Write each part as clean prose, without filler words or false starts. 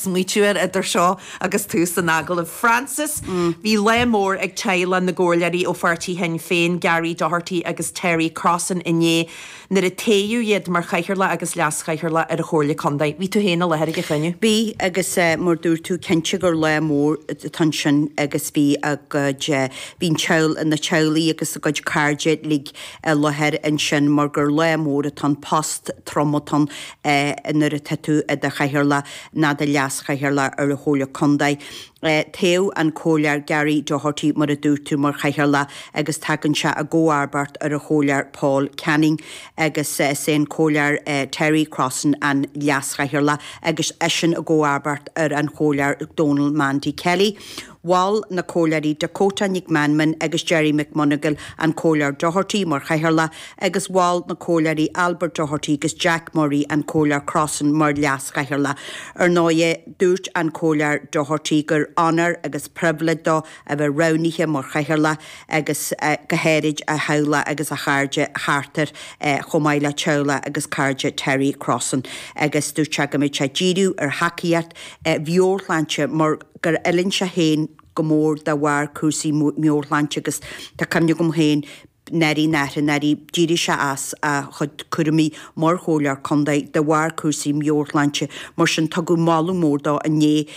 Smaoitiú air idir seo agus tús an agallaimh. Frances, Bhí lá mór ag teaghlach na gcomhairleoirí ó pháirtí Shinn Féin, Gary Doherty agus Terry Crossan inné nuair a toghadh iad mar Chathaoirleach agus Leas-Chathaoirleach ar an Chomhairle Contae. Bhí tú féin i láthair ag an chruinniú. Bhí, agus mar dúirt tú, cinnte gur lá mór atá ansin agus bhí a gcuid, bhí an teaghl, na teaghlaigh agus a gcuid cairde uilig i láthair ansin mar gur lá mór atá ann, post trom atá ann nuair atá tú i do chathaoirleach ná do leas-chathaoirleach ar an Chomhairle Contae. Toghadh an Comhairleoir Gary Doherty, mar a dúirt tú, mar chathaoirleach agus tagann sé i gcomharbacht ar an Chomhairleoir Paul Canning agus is é an Comhairleoir Terry Crossan an leas-chathaoirleach agus eisean i gcomharbacht ar an Chomhairleoir Donal Mandy Kelly. Mhol na Comhairleoirí Dakota Nic Meanman agus Gerry McMonagle an Comhairleoir Doherty mar Chathaoirleach agus mhol na Comhairleoirí Albert Doherty agus Jack Murray an Comhairleoir Crossan mar Leas-Chathaoirleach. Ar ndóighe, dúirt an Comhairleoir Doherty gur onóir agus pribhléid dó a bheith roghnaithe mar Chathaoirleach agus go háirid a theaghlach agus a chairde thart air chomh maith le teaghlach agus cairde Terry Crossan agus dúirt sé go mbeidh sé ag díriú ar thacaíocht mheabhairshláinte mar gur fhuilaing sé féin go mór de bharr cúrsaí meabhairshláinte agus tá cuimhne agam féin ndáiríre ndáiríre ndáiríre d'éirigh sé as a chuid cúraimí mar chomhairleoir contae de bharr cúrsaí meabhairshláinte mar sin tugadh moladh mór dó inné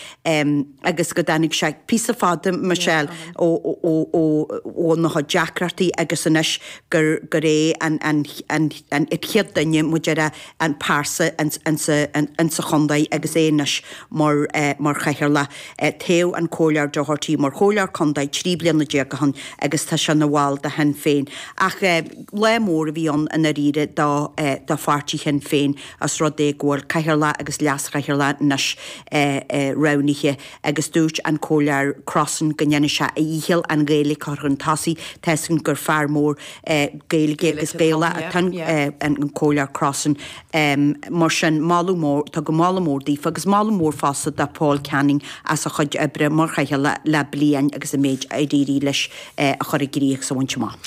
agus go dtáinig sé píosa fada Michelle ó ó ó óna chuid deacrachtaí agus anois gur gur é an an an an chéad duine mar a déarfá an pearsa insa chontae agus é anois mar mar chathaoirleach. Toghadh an Comhairleoir Doherty mar chomhairleoir contae 13 bliana ó shin agus tá sé ina bhall de Shinn Féin. Ach lá mór a bhí ann i ndáiríre do do pháirtí Shinn Féin os rud é go bhfuil cathaoirleach agus leas-chathaoirleach anois roghnaithe agus dúirt an Comhairleoir Crossan go ndéanfaidh sé a dhícheall an Ghaeilge a chur chun tosaigh. Tá 'fhios againn gur fear mór Gaeilge agus Gaelach atá an Comhairleoir Crossan. Mar sin, moladh mór, tugadh moladh mór daofa agus moladh mór fosta do Paul Canning as a chuid oibre mar chathaoirleach le bliain agus an méid ar éirigh leis a chur i gcrích agus a bhaint amach.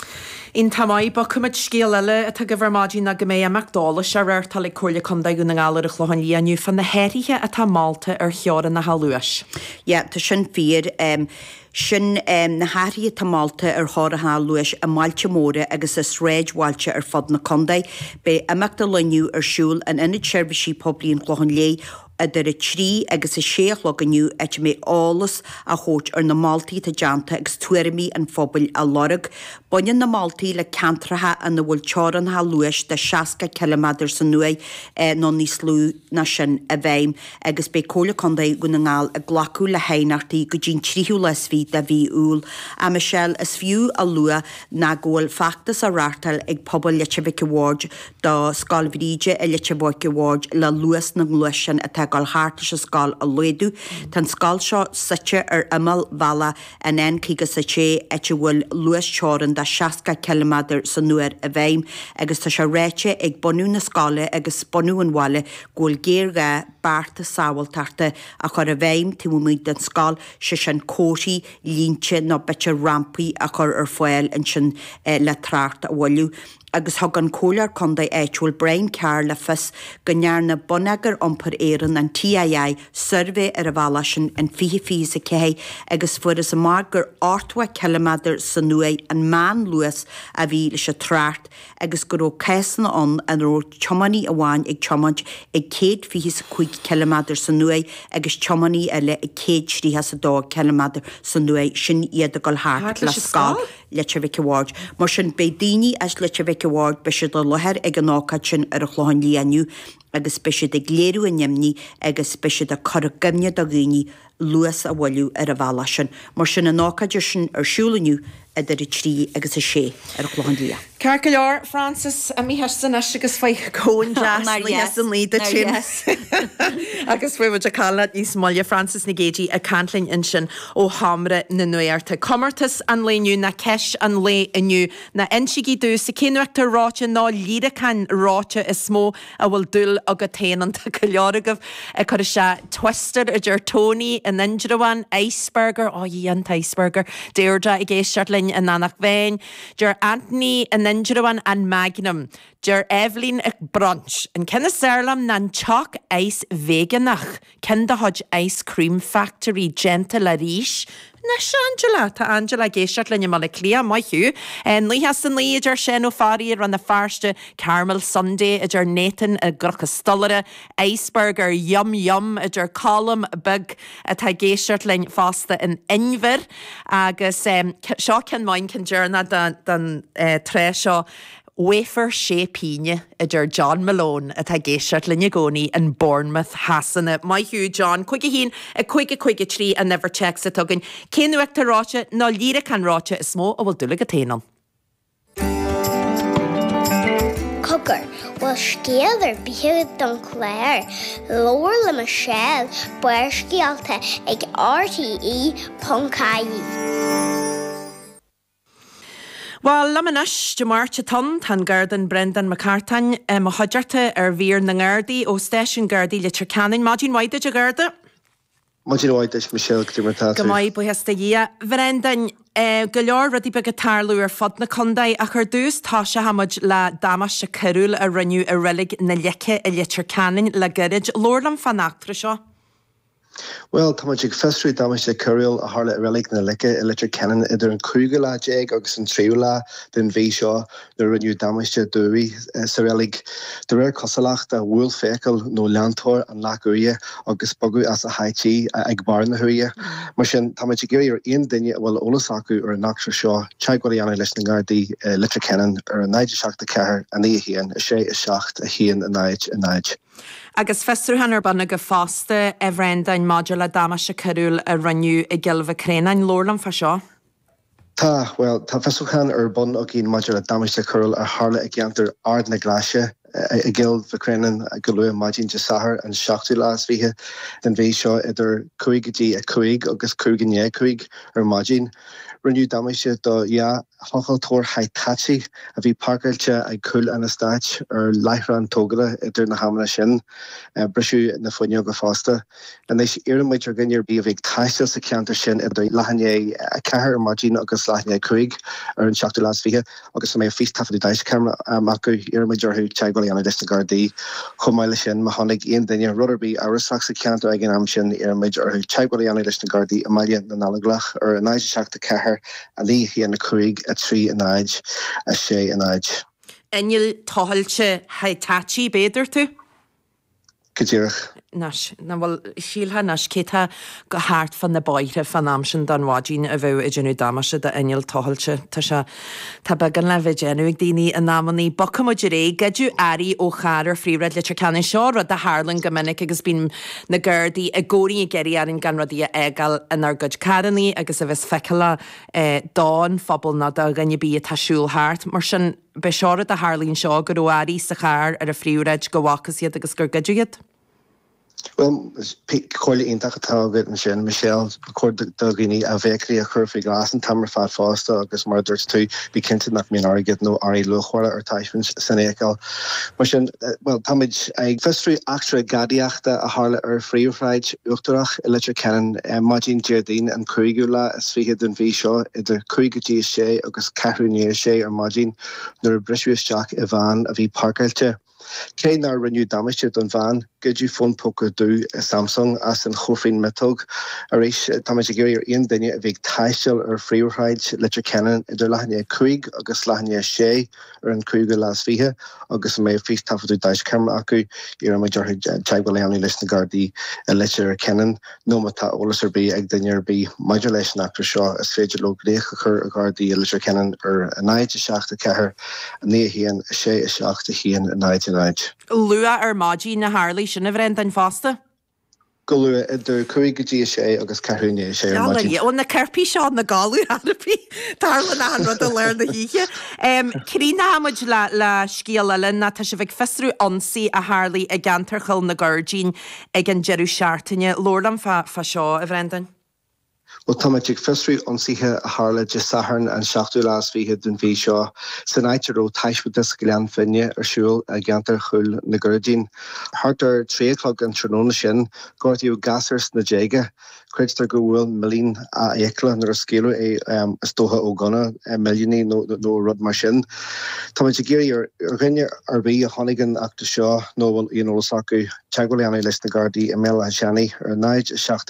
Iontach maith. Bogfaimid scéal eile atá agaibh ar maidin ná go mbeidh imeacht eolais á reáchtáil ag Comhairle Contae Dhún na nGall ar an Chlochán Liath inniu fá na hathruithe atá molta ar theorainneacha luais. Yeah, tá sin fíor. Sin na hathruithe atá molta ar theorainneacha luais i mbailte móra agus i sráidbhailte ar fud na contae. Beidh imeacht an lae inniu ar siúl in Ionad Seirbhísí Poiblí an Chlocháin Léith idir 3 agus 6 a chlog inniu áit a mbeidh eolas á thabhairt ar na moltaí atá déanta agus tuairimí an phobail á lorg. Baineann na moltaí le ceantracha ina bhfuil teorainneacha luais de 60 ciliméadar san uair nó níos lú ná sin i bhfeidhm. agus beidh Comhairle Contae Dhún na nGall ag glacadh le haighneachtaí go dtí an tríú lá is fiche de mhí Iúil. A Michelle, is fiú a lua ná go bhfuil feachtas á reáchtáil ag pobal Leitir Mhic a' Bhaird do Scoil Bhríde i Leitir Mhic a' Bhaird le luas na ngluaisteán atá ag dul thart leis an scoil a laghdú. Tá an scoil seo suite ar imeall bhealach an N56 áit a bhfuil luas teorann de 60 ciliméadar san uair i bhfeidhm agus tá sé ráite ag bunadh na scoile agus bunadh an bhaile go bhfuil géarghá bearta sábháilteachta a chur i bhfeidhm taobh amuigh den scoil, sé sin comharthaí, línte nó b'fhéidir rampaí a chur ar fáil ansin le trácht a mhoilliú. Agus thug an Comhairleoir Contae áitiúil Brian Carr le fios go ndearna Bonneagar Iompair Éireann, an TII, suirbhé ar an bhealach sin in 2024 agus fuarthas amach gur 80 ciliméadar san uair an meánluas a bhí leis an trácht agus go raibh cásanna ann ina raibh tiománaí amháin ag tiomáint ag 125 ciliméadar san uair agus tiománaí eile ag 132 ciliméadar san uair, sin iad ag dul thart le scoil Leitir Mhic a' Bhaird. Mar sin, beidh daoine as Leitir Mhic a' Bhaird, beidh siad i láthair ag an ócáid sin ar an Chlochán Liath inniu agus beidh siad ag léiriú a n-imní agus beidh siad ag cur i gcuimhne do dhaoine luas a mhoilliú ar an bhealach sin. Mar sin, an ócáid sin ar siúl inniu idir 3 agus 6 ar an Chlochán Liath. Ceart go leor, Frances, imigh thusa anois agus faigh scone deas luath san luí duit féin. Agus beidh muid ag caint leat níos moille, Frances Nic Géadaigh ag caint linn ansin ó Sheomra na Nuachta. Comórtas an lae inniu ná ceist an lae inniu ná insígí domhsa cén uachtar reoite nó líreacán reoite is mó a bhfuil dúil agat féin ann. Tá go leor agaibh ag cur isteach Twister, a deir Tony in Indreabhán, Iceburger, ó a Dhia an t-Iceburger, Deirdre ag éisteacht linn. linn in Eanach Mheáin. Deir Anthony in Indreabhán an Magnum. Deir Eibhlín ag Brunch, an ceann is fearr liom ná an Choc Ice Veigeánach. Ceann de chuid Ice Cream Factory déanta le rís. Anois Angela! Tá Angela ag éisteacht linn i mBaile Átha Cliath, maith thú. 99 a deir Seán Ó Fearraigh i Rann na Feirste, Caramel Sundae a deir Nathan i gCnoc an Stolaire, Iceburger Yum Yum a deir Colm Beag atá ag éisteacht linn fosta in Inbhir. Agus seo ceann maith, an ceann deireanach don tráth seo. Wafer sé pínne, a deir John Malone, atá ag éisteacht linn i gcónaí in Bournemouth Shasana. Maith thú, John. 5 1, 5 5 3 an uimhir téacs atá againn. Cén uachtar reoite nó líreacán reoite is mó a bhfuil dúil agat féin ann? Cogar, bhfuil scéal ar bith agat don chlár? Labhair le Michelle, Barrscéalta ag RTE.ie. Bhuel, liom anois, Dé Máirt atá ann, tá an Garda Breandán Mac Cartáin i mo chuideachta ar mhír na nGardaí ó Stáisiún Gardaí Leitir Ceanainn. Maidin mhaith duit, a Gharda. Maidin mhaith duit, Michelle, cad é mar atá tú? Go maith, buíochas do Dhia. Bhreandáin, go leor rudaí beaga ag tarlú ar fud na contae, ach ar dtús toiseoidh muid le damáiste coiriúil a rinneadh i Reilig na Leice i Leitir Ceanainn le gairid. Labhair liom fán eachtra seo. Bhuel, tá muid ag fiosrú damáiste coiriúil a tharla i Reilig na Leice i Leitir Ceanainn idir an cúigiú lá déag agus an tríú lá den mhí seo nuair a rinneadh damáiste d'uaigh sa reilig. De réir cosúlachta, bhuail feithicil nó leantóir an leac uaighe agus bogadh as a háit í ag barr na huaighe. Mar sin, tá muid ag iarraidh ar aon duine a bhfuil eolas acu ar an eachtra seo teagmháil a dhéanamh leis na nGardaí i Leitir Ceanainn ar 0 7 4 9 1 6 7 1 0 0. Agus fiosrúchán ar bun agaibh fosta, a Bhreandáin, maidir le damáiste coiriúil a rinneadh i gCill Mhic Réanáin. Labhair liom fá seo. Tá, bhuel, tá fiosrúchán ar bun againn maidir le damáiste coiriúil a tharla i gceantar Ard na Glaise i gCill Mhic Réanáin go luath maidin Dé Sathairn an seachtú lá is fiche den mhí seo idir cúig go dtí a cúig agus cúig i ndiaidh a cúig ar maidin. Rinneadh damáiste do dhá Thochailteoir Hitachi a bhí páirceáilte ag cúl an eastáit ar láithreán tógála idir na hamanna sin. Briseadh na fuinneoga fosta. Anois, iarrann muid ar dhuine ar bith a bhí ag taisteal sa cheantar sin idir leath i ndiaidh a ceathair ar maidin agus leath i ndiaidh a cúig ar an seachtú lá is fiche agus a mbeadh fístaifeadadh daisceamara acu, iarrann muid orthu teagmháil a dhéanamh leis na Gardaí. Chomh maith leis sin, má chonaic aon duine rud ar bith amhrasach sa cheantar ag an am sin, iarrann muid orthu teagmháil a dhéanamh leis na Gardaí i mBaile na nGallóglach ar 0 7 4 9 1 5 3 0 6 0. Inneall tochailte Hitachi, b'fhéidir tú? Go díreach. Anois, nach bhfuil, shílfeá anois, cé tá go thart fá na bóithre fán am sin den mhaidin a bheadh ag déanamh damáiste d'inneall tochailte. Tá sé, tá beagán le bheith ag déanamh ag daoine in amannaí. Bogfaidh muid ar aghaidh. Goideadh earraí ó charr ar phríomhshráid Leitir Ceanainn. Seo rud a tharlaíonn go minic agus bíonn na Gardaí i gcónaí ag iarraidh orainn gan rudaí a fhágáil inár gcuid carrannaí agus a bheas feiceálach don phobal nó do dhuine ar bith atá ag siúl thart. Mar sin, b'é seo rud a tharlaíonn seo, go raibh earraí sa charr ar an phríomhshráid go bhfacthas iad agus gur goideadh iad. Bhuel, comhairle iontach atá agat ansin, Michelle. Ba chóir do dhaoine a bhfeithiclí a chur faoi ghlas an t-am ar fad fosta agus mar a dúirt tú, bí cinnte nach mbíonn airgead nó earraí luachmhara ar taispeáint san fheithicil. Mar sin, bhuel, táimid ag fiosrú eachtra gadaíochta a tharla ar Phríomhshráid Uachtarach i Leitir Ceanainn maidin Déardaoin an cúigiú lá is fiche den mhí seo idir cúig go dtí a sé agus ceathrú i ndiaidh a sé ar maidin nuair a briseadh isteach i veain a bhí páirceáilte. Cé nár rinneadh damáiste don veain, goideadh fón póca dubh Samsung as an chóifrín miotóg. Arís, táimid ag iarraidh ar aon duine a bhí ag taisteal ar Phríomhshráid Leitir Ceanainn idir leath i ndiaidh a cúig agus leath i ndiaidh a sé ar an cúigiú lá is fiche agus a mbeadh fístaifeadadh daisceamara acu, iarraimid orthu teagmháil a dhéanamh leis na Gardaí i Leitir Ceanainn nó má tá eolas ar bith ag duine ar bith maidir leis an eachtra seo, is féidir leo glaoch a chur ar Ghardaí i Leitir Ceanainn ar 0 7 4 9 1 6 7 1 0 0. Luath ar maidin a tharlaigh sin, a Bhreandáin, fosta. Go luath, idir cúig go dtí a sé agus ceathrú i ndiaidh a sé ar maidin. Ó, na coirpigh seo ina gcodladh ar bith. Tarlaíonn achan rud i lár na hoíche. Críochnóidh muid le le scéal eile ná tá sibh ag fiosrú ionsaí a tharlaigh i gceantar Chill na Gairdín ag an deireadh seachtaine. Labhair liom fá fá seo, a Bhreandáin. Bhuel, táimid ag fiosrú ionsaithe a tharla Dé Sathairn an seachtú lá is fiche den mhí seo san áit a raibh taispeántas Ghleann Finne ar siúl i gceantar Chúil na gCurraidhín. Thart ar 3 a chlog an tráthnóna sin, gortaíodh gasúr sna déaga. Creidtear gur bhuail millín a fhiacla nuair a scaoileadh é, is dócha ó ghunna millíní nó rud mar sin. Táimid ag iarraidh ar dhuine ar bith a chonaic an eachtra seo nó a bhfuil aon eolas acu, teagmháil a dhéanamh leis na Gardaí i mBéal Átha Seanaidh ar 0 7.